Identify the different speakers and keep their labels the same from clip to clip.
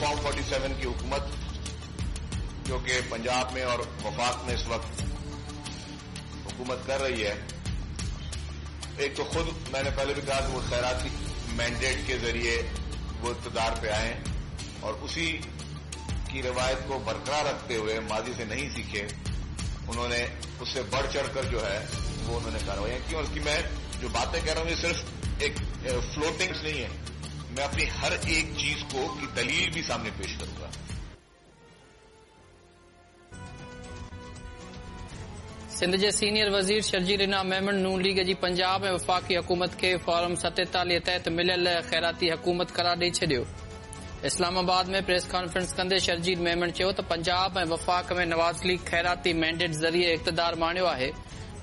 Speaker 1: Form 47 की हुकूमत जो कि पंजाब में और वफाक में इस वक्त हुकूमत कर रही है, एक तो खुद मैंने पहले भी कहा कि वो खैराती मैंडेट के जरिए वो इकतदार पे आए और उसी की रिवायत को बरकरार रखते हुए माजी से नहीं सीखे, उन्होंने उससे बढ़ चढ़कर जो है वो उन्होंने कार्रवाई की। और उसकी मैं जो बातें कह रहा हूं ये सिर्फ एक फ्लोटिंग्स नहीं है, मैं अपनी हर एक चीज को की दलील भी सामने पेश करूंगा।
Speaker 2: सिंध जे सीनियर वज़ीर शर्जील इनाम मेमण नून लीग जी पंजाब ऐं वफ़ाक़ी हुकूमत खे फॉर्म 47 तहत मिलियल ख़ैराती हुकूमत करार ॾेई छॾियो। इस्लामाबाद में प्रेस कॉन्फ्रेंस कंदे शर्जील मेमण चयो त पंजाब ऐं वफ़ाक़ में नवाज़ लीग ख़ैराती मैंडेट ज़रिए इक़्तिदार माणियो आहे।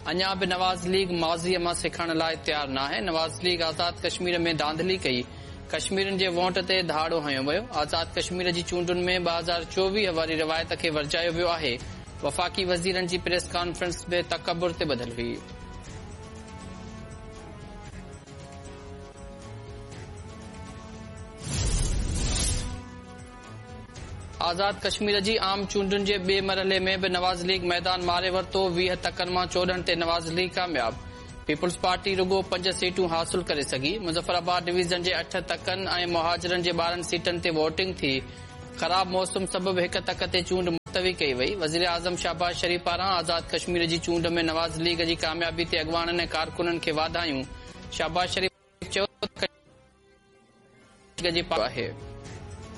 Speaker 2: अञा बि नवाज़ लीग माज़ीअ मां सिखण लाइ तयार नाहे। नवाज़ लीग आज़ाद कश्मीर में धांधली कई, कश्मीरियुनि जे वोट ते धाड़ो हणयो वियो। आज़ाद कश्मीर जी चूंडुनि में 2024 वारी रिवायत खे वरजायो वियो आहे। वफ़ाक़ी वज़ीरनि जी प्रेस कॉन्फ्रेंस बि तकबुर ते ॿधिल हुई। आज़ाद कश्मीर जी आम चूंडुनि जे ॿिए मरहले में बि नवाज़ लीग मैदान मारे वरितो। 20 तकनि मां 14 ते नवाज़ लीग कामयाब। पीपल्स पार्टी रुगो 5 सीटूं हासिल करे सघी। मुज़फ़राबाद डिवीज़न जे 8 तकनि ऐं मुहाजिरनि जे 12 सीटनि ते वोटिंग थी। ख़राब मौसम सबबि हिकु तक ते चूंड मुलतवी कई वई। वज़ीर आज़म शाहबाज़ शरीफ पारां आज़ाद कश्मीर जी चूंड में नवाज़ लीग जी कामयाबी ते अॻवाणनि ऐं कारकुननि खे वाधायूं। शाहबाज़ शरीफ चयो त आहे।